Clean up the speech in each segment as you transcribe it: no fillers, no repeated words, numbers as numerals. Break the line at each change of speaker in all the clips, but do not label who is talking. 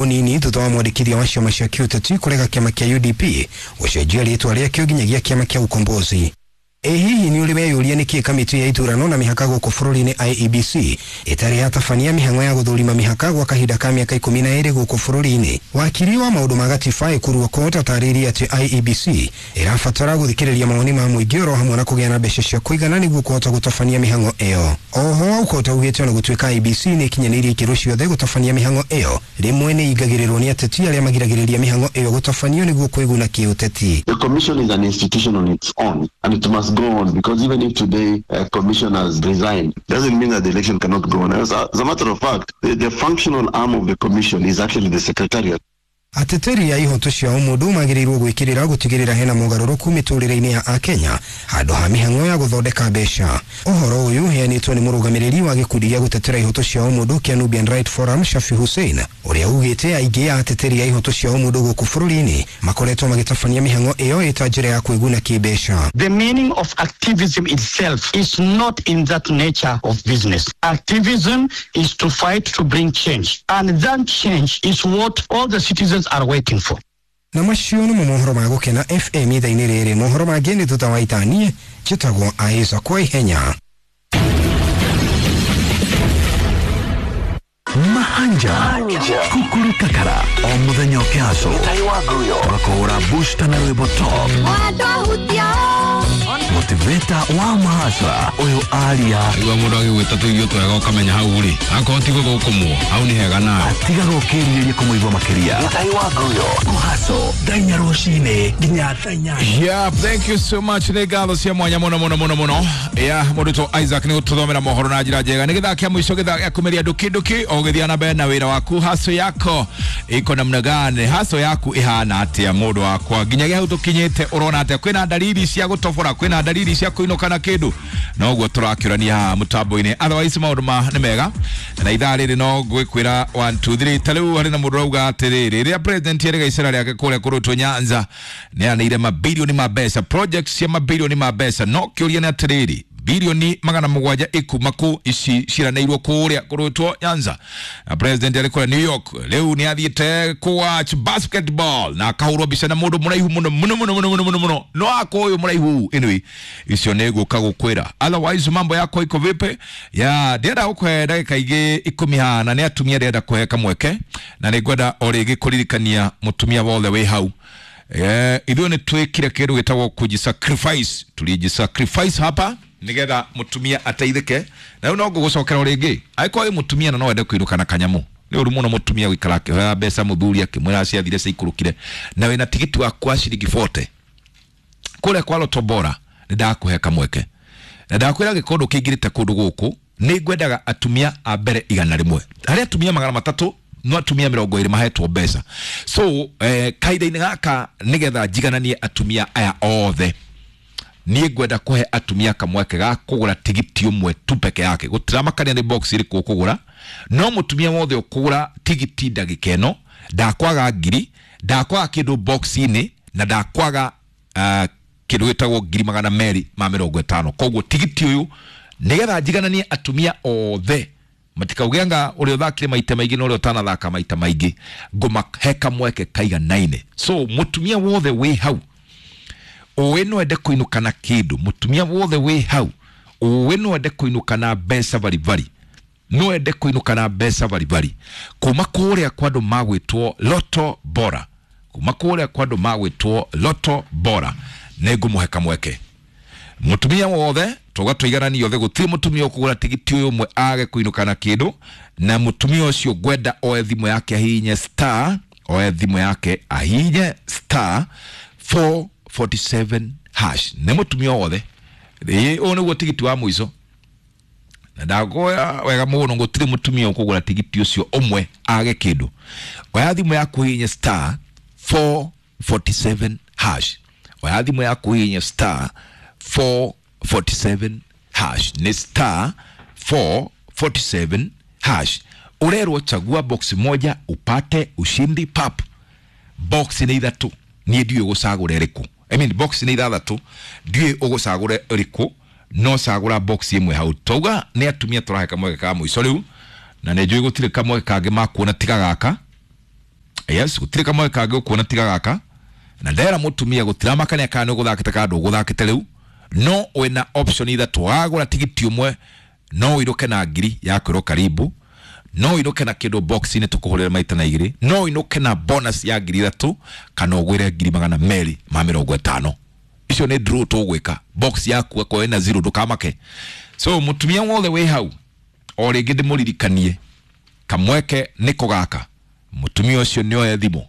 Unini thutha wa mwandĩkithia wa ciama cia kĩũteti kũrega kĩama kĩa UDP gũcenjia rĩtwa rĩakĩo nginyagia kĩama kĩa Ukombozi. Ĩ hihi nĩ ũrĩ weyũria nĩkĩ kamĩtĩ ya ithurano na mĩhaka gũkũ bũrũri-inĩ IEBC ĩtarĩ yatabania mĩhang'o ya gũthũrima mĩhaka gwa kahinda ka mĩaka 12 gũkũ bũrũri-inĩ? Wakiri wa maũndũ ma gatiba Ekuru Aukot atarĩirie atĩ IEBC ĩrabatara gũthikĩrĩria mawoni ma mũingĩ oro hamwe na kũgĩa na mbeca cia kũigana nĩguo kũhota gũtabania mĩhang'o ĩyo. Oho Aukot augĩte ona gũtuĩka IEBC nĩ ĩkinyanĩirie ikĩro ciothe gũtabania mĩhang'o ĩyo, rĩmwe nĩ ĩingagĩrĩrwo nĩ ateti arĩa magiragĩrĩria mĩhang'o ĩyo gũtabanio nĩguo kwĩguna kĩũteti.
The commission is an institution on its own and it must go on, because even if today commissioners resign, doesn't mean that the election cannot go on. As a matter of fact, the functional arm of the commission is actually the secretariat.
Ateteri a ihoto cia ũmũndũ magĩrĩirwo gwĩkĩrĩra gũtigĩrĩra hena mogarũrũku mĩtũrĩre-inĩ ya Akenya handũ ha mĩhang'o ya gũthondeka mbeca. Ũhoro ũyũ ũheanĩtwo nĩ mũrũgamĩrĩri wa gĩkundi gĩa gũtetera ihoto cia ũmũndũ kĩa Nubian Right Forum Shafi Hussein, ũrĩa ugĩte aingĩ a ateteri a ihoto cia ũmũndũ gũkũ bũrũri-inĩ makoretwo magĩtabania mĩhang'o ĩyo ĩta njĩra ya kwĩguna kĩmbeca.
The meaning of activism itself is not in that nature of business. Activism is to fight to bring change, and that change is what all the citizens are waiting for.
Na macio nĩmo mohoro ma Gũkena FM ithaa-inĩ rĩrĩ. Mohoro mangĩ nĩ thutha wa ithaa. Njĩtagwo Aiza kwa ihenya.
Mahanja Kukuru Kakara o muthenya ũkĩhacwo tũgakũhũra booster na rwĩmbo top motivator wa mahacra ũyũ aria.
Igua mũndũ agĩgwĩta tũirio twega ũkamenya hau rĩ akorwo tiguo gũkũmwo hau nĩ hega nawe
atigaga ũkĩrirĩria kũmũigua makĩria. Kũhaco thaa 4 rũcinĩ nginya thaa 8.
Yeah, thank you so much. Nĩ ngatho cia mwanya mũno mũno mũno mũno. Yeah, mũndũ to Isaac nĩ gũtũthomera mohoro na njĩra njega. Nĩ gĩthaa kĩa mũico, gĩthaa gĩa kũmeria nduki nduki o gĩthiĩ na mbere na wĩra waku. Haso yako iko namna gani? Haso yaku ihana atĩa mũndũ wakwa? Nginyagia hau tũkinyĩte ũrona atĩa? Kwĩna dalili cia gũtobora, kwĩna dalili cia kũinũka na kĩndũ? Noguo tũrakĩũrania haha mũtambo-inĩ. Otherwise maũndũ ma nĩ mega. Na ithaa rĩrĩ no ngwĩkwĩra 1 2 3. Ta rĩu harĩ na mũndũ ũrauga atĩrĩrĩ, rĩrĩa president erĩga icera rĩake kũrĩa kũrũtwo Nyanza nĩ anĩire mabilioni ma mbeca, projects cia mabilioni ma mbeca. No kĩũria nĩ atĩrĩrĩ, bilioni 700 ikuma kũ ici ciranĩirwo kũrĩa kũrũtwo Nyanza? Na president arĩ kũrĩa New York rĩu nĩ athiĩte kũwatch basketball na akahũrwo mbica na mũndũ mũraihu mũno mũno mũno mũno mũno mũno mũno, no ako ũyũ mũraihu. Anyway, icio nĩ ngũka gũkwĩra. Otherwise mambo yako iko vipi? Ya ndĩrenda gũkũhe ndagĩka igĩ 10 haha, na nĩ atumia ndĩrenda kũhe kamweke, na nĩ ngwenda o rĩngĩ kũririkania mũtumia wothe wĩ hau. Ithuĩ nĩ twĩkire kĩndũ gĩtagwo kujisacrifice. Tulijisacrifice hapa nigetha mutumia ateithike. Na rĩu no ngũgũcokera o rĩngĩ, angĩkorwo wĩ mutumia na no wende kũinũka na kanyamũ, nĩ ũru mũno mutumia gũikara akĩhoya mbeca mũthuri akĩmwĩra ciathire ciikũrũkire, na wĩna tigiti waku wa ciringi 40 kũrĩa kwa Lotto Bora, nĩ ndakũhe kamweke na ndakwĩra gĩkondo kĩingĩrĩte kũndũ gũkũ. Nĩ ngwendaga atumia a mbere 100, harĩ atumia 300, no atumia 20 mahetwo mbeca. So kahinda-inĩ gaka nĩgetha njigananie atumia aya othe, niĩ ngwenda kũhe atumia kamweke ga kũgũra tigiti ũmwe tu peke yake. Gũtiramakania nĩ box ĩrĩkũ ũkũgũra, no mũtumia wothe ũkũgũra tigiti ndagĩka ĩno ndakwaga ngiri, ndakwaga kĩndũ box-inĩ, na ndakwaga kĩndũ gĩtagwo 250,000. Koguo tigiti ũyũ nĩgetha njigananie atumia othe matikauge anga ũrĩa ũthakire maita maingĩ na ũrĩa ũtanathaka maita maingĩ, ngũmahe kamweke kaiganaine. So mũtumia wothe wĩ hau ũĩ no ende kũinũka na kĩndũ, mũtumia wothe wĩ hau ũĩ no ende kũinũka na mbeca baribari, no ende kũinũka na mbeca baribari kuma kũrĩa kwa andũ magwĩtwo Lotto Bora, kuma kũrĩa kwa andũ magwĩtwo Lotto Bora, nĩ ngũmũhe kamweke. Mũtumia wothe tũga tũigananie othe, gũtirĩ mũtumia ũkũgũra tigiti ũyũ ũmwe age kũinũka na kĩndũ. Na mũtumia ũcio ngwenda oe thimũ yake ahihinye star, oe thimũ yake ahihinye star 447 hash. Nĩ mũtumia wothe. Ũyũ nĩguo tigiti wa mũico, na ndagoya wega mũno, gũtirĩ mũtumia ũkũgũra tigiti ũcio ũmwe age kĩndũ. Oya thimũ yaku hihinye star 447 hash. Oya thimũ yaku hihinye star 447 hash. Nĩ star 447 hash. Ũrerwo chagua box moja upate ushindi pap. Box nĩ ithatũ, niĩ ndiũĩ gũcagũra ĩrĩkũ. I mean, box nĩ ithathatũ, ndiũĩ ũgũcagũra ĩrĩkũ, no cagũra box ĩmwe hau. Twauga nĩ atumia tũrahe kamweke ka mũico rĩu, na nĩ njũĩ gũtirĩ kamweke kangĩ makuona tiga gaka. Yes, gũtirĩ kamweke kangĩ ũkuona tiga gaka. Na ndera mũtumia gũtiramakania kana nĩ ũgũthakĩte kana ndũgũthakĩte rĩu, no wĩna option ithatũ. Wagũra tigiti ũmwe no ũinũke na ngiri ya kwĩrwo karibu, no ũinũke na kĩndũ box-inĩ tũkũhũrĩre maita na igĩrĩ, no ũinũke na bonus ya 3,000 kana ũgwĩre 250,000. Icio nĩ draw tũgwĩka. Box yaku akorwo ĩna zero ndũkamake. So mũtumia wothe wĩ hau o rĩngĩ ndĩmũririkanie kamweke nĩko gaka. Mũtumia ũcio nĩ oe thimũ,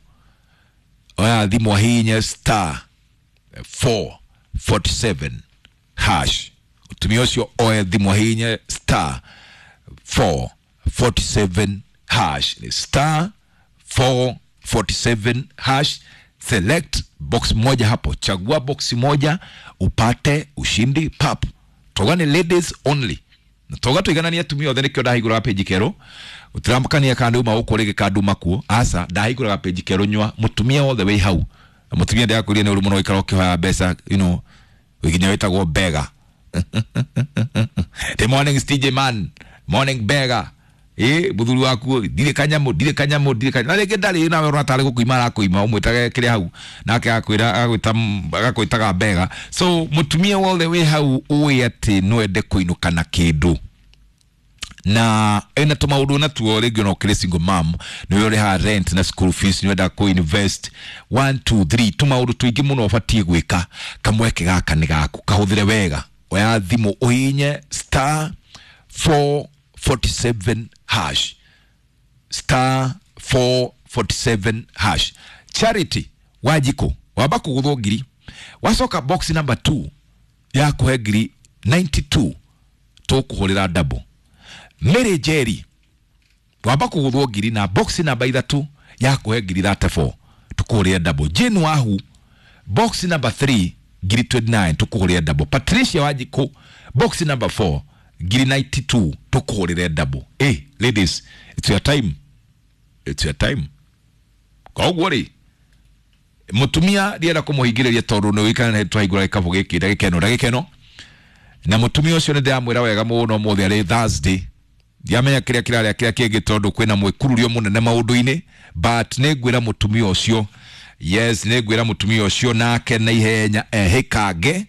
oya thimũ ahihinye star 447 hash. Mũtumia ũcio oe thimũ ahihinye star 447 hash. Ni star 447 hash. Select box moja hapo, chagua box moja upate ushindi pap. Toga ni ladies only. Na toga tuiganania atumia othe, nikio ndahingũraga page kerũ utiramũkania kana uma gũkũ rĩngĩ kana nduma kuo. Aca, ndahingũraga page kerũ nyua mũtumia wothe wĩ hau. Na mũtumia ndĩrakwĩrire nĩ ũru mũno gũikara ũkĩhoya mbeca, you know, nginya wĩtagwo bega. The morning STJ man, morning bega. Mũthuri waku ndirĩ kanyamũ, ndirĩ kanyamũ, ndirĩ kanyamũ. Na rĩngĩ ndarĩ nawe ũrona tarĩ gũkũima arakũima, ũmwĩtage kĩrĩa hau nake agakwĩra agakwĩtaga bega. So mũtumia wothe wĩ hau ũĩ atĩ no ende kũinũka na kĩndũ na ena tũmaũndũ natuo rĩngĩ ona ũkĩrĩ single mom nĩwe ũrĩhaga rent na school fees, nĩwenda kũ invest 1 2 3 tũmaũndũ tũingĩ mũno ũbatiĩ gwĩka. Kamweke gaka nĩ gaku, kahũthĩre wega. Oya thimũ ũhihinye star 447 hash, star 447 hash. Charity Wanjikũ wamba kũgũthwo ngiri, wacoka box number 2 ya kũhe ngiri 92 tũkũhũrĩra double. Mary Jerry wamba kũgũthwo ngiri na box number 3 ya kũhe ngiri 34 tũkũhũrĩra double. Jane Wahu box number 3 ngiri 29 tũkũhũrĩra double. Patricia Wanjikũ box number 4 ngiri 92 tũkũhũrĩre double. Hey, ladies, it's your time, it's your time. Koguo rĩ mũtumia ndienda kũmũhingĩrĩria tondũ nĩ ũikana twahingũra gĩkabũ gĩkĩ ndagĩka ĩno ndagĩka ĩno. Na mũtumia ũcio nĩ ndĩramwĩra wega mũno ũmũthĩ arĩ Thursday, ndiamenya kĩrĩa kĩrarĩa kĩrĩa kĩngĩ tondũ kwĩna mwĩkururio mũnene maũndũ-inĩ, but nĩ ngwĩra mũtumia ũcio, yes, nĩ ngwĩra mũtumia ũcio nake na ihenya ehĩkange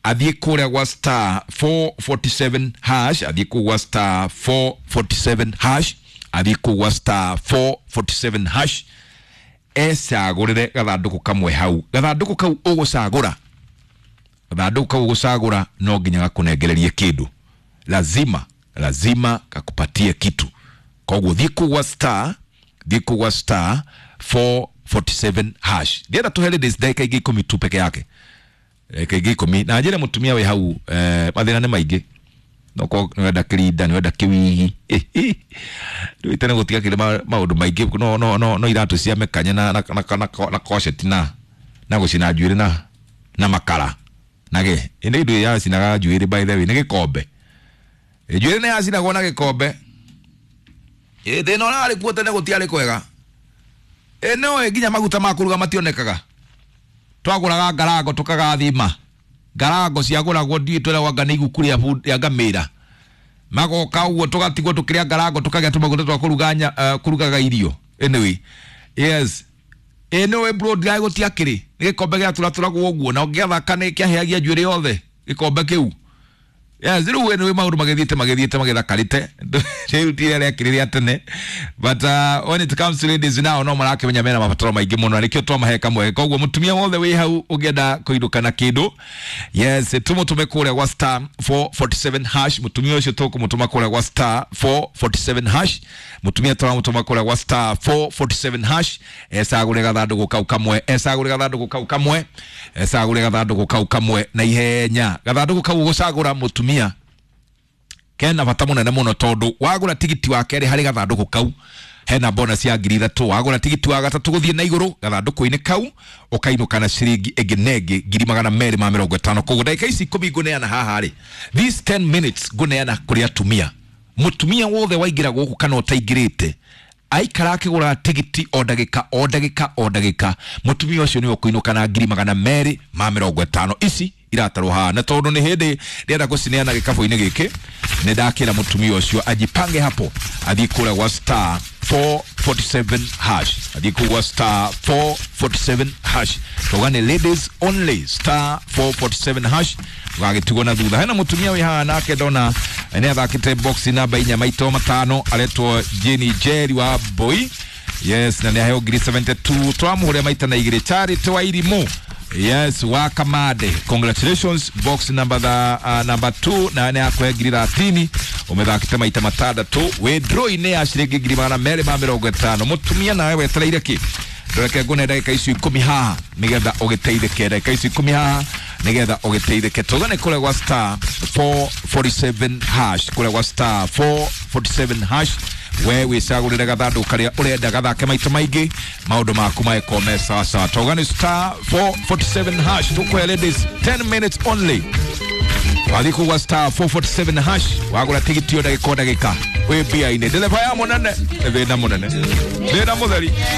athiĩ kũrĩa gwa star 447 hash, athiĩ kũu gwa star 447 hash, athiĩ kũu gwa star 447 hash ecagũrĩre gathandũkũ kamwe hau. Gathandũkũ kau ũgũcagũra, gathandũkũ kau ũgũcagũra no nginya gakũnengererie kĩndũ, lazima lazima kakupatie kitu. Koguo thiĩ kũu gwa star, thiĩ kũu gwa star 447 hash. Ndienda tũhe ladies ndagĩka ingĩ 10 tu peke yake, ndagĩka ingĩ 10 na njĩre mũtumia wĩ hau mathĩna nĩ maingĩ. No nĩwenda kĩrinda, nĩwenda kĩwigi, rĩu tene gũtigakĩrĩ maũndũ maingĩ, no no no no iratũ cia mĩkanye na na na na na coceti na na gũcina njuĩrĩ na na makara na gĩ ĩnĩ indo yacinaga njuĩrĩ, by the way nĩ gĩkombe, njuĩrĩ nĩ yacinagwo na gĩkombe. Thĩna ũrĩa warĩ kuo tene gũtiarĩ kwega. No nginya maguta ma kũruga mationekaga, twagũraga ngarango tũkagathima ngarango ciagũragwo ndiũĩ twĩragwo anga nĩ iguku rĩa ngamĩra, magoka ũguo tũgatigwo tũkĩrĩa ngarango tũkagĩa tũmaguta twa kũruga kũrugaga irio. Anyway, yes, anyway bro, ndirai gũtiakĩrĩ nĩ gĩkombe gĩatũratũragwo ũguo na ũngĩathaka nĩ kĩahĩagia njuĩrĩ yothe gĩkombe kĩu. Yes, rĩu anyway maũndũ magĩthiĩte magĩthiĩte magĩthakarĩte rĩu ti rĩrĩa rĩakĩrĩ rĩa tene, but when it comes to ladies now no marakĩmenya mena mabataro maingĩ mũno na nĩkĩo twamahe kamweke. Koguo mũtumia wothe wĩ hau ũngĩenda kũinũka na kĩndũ, yes, tũmũtũme kũrĩa gwa star 447 hash. Mũtumia ũcio tũkũmũtũma kũrĩa gwa star 447 hash. Mũtumia tũramũtũma kũrĩa gwa star 447 hash ecagũre gathandũkũ kau kamwe, ecagũre gathandũkũ kau kamwe, ecagũre gathandũkũ kau kamwe na ihenya. Gathandũkũ kau ũgũcagũra mũtumia kena bata mũnene mũno tondũ wagũra tigiti wa kerĩ harĩ gathandũkũ kau hena bonus ya 3,000. Wagũra tigiti wa gatatũ gũthiĩ na igũrũ gathandũkũ-inĩ kau ũkainũka na ciringi ĩngĩ na ĩngĩ 250,000. Koguo ndagĩka ici 10 ngũneana haha rĩ, these 10 minutes ngũneana kũrĩ atumia. Mũtumia wothe waingĩra gũkũ kana ũtaingĩrĩte aikara akĩgũra tigiti o ndagĩka o ndagĩka o ndagĩka, mũtumia ũcio nĩwe ũkũinũka na 250,000. Ici iratarwo haha, na tondu ni hindi ndĩrenda gũcineana gĩkabũ-inĩ gĩkĩ, nĩ ndakĩra mũtumia ũcio ajipange hapo, athiĩ kũrĩa gwa star 447 hash, athiĩ kũu gwa star 447 hash. Tauga nĩ ladies only, star 447 hash, gagĩtigwo na thutha. Hena mũtumia wĩ haha nake ndona nĩ athakĩte box namba 4 maito 5, aretwo Jenny Jerry wa Boy. Yes, na nĩ aheo ngiri 72, twamũhũrĩa maita na 2. Charity wa Irimũ, yes, wa Kamande, congratulations. Box number number 2 na nĩ akũhe ngiri 30, ũmĩthakĩte maita 6, wĩ draw-inĩ ya ciringi 250,000. Mũtumia nawe wetereire kĩ? Ndoreke ngune ndagĩka icio 10 haha nĩgetha ũgĩteithĩke, ndagĩka icio 10 haha nĩgetha ũgĩteithĩke. Tũgane kũrĩa gwa star 447 hash, kũrĩa gwa star 447 hash, we wĩcagũrĩre gathandũ karĩa ũrenda gathake maita maingĩ, maũndũ maku magĩkorwo me sawa sawa. Tũgane star 447 hash, tũkũhe ladies 10 minutes only. Wathiĩ kũu gwa star 447 hash, wagũra tigiti o ndagĩka o ndagĩka wĩ mbia-inĩ. Ndereba ya mũnene, thĩna mũnene, thĩna mũtheri.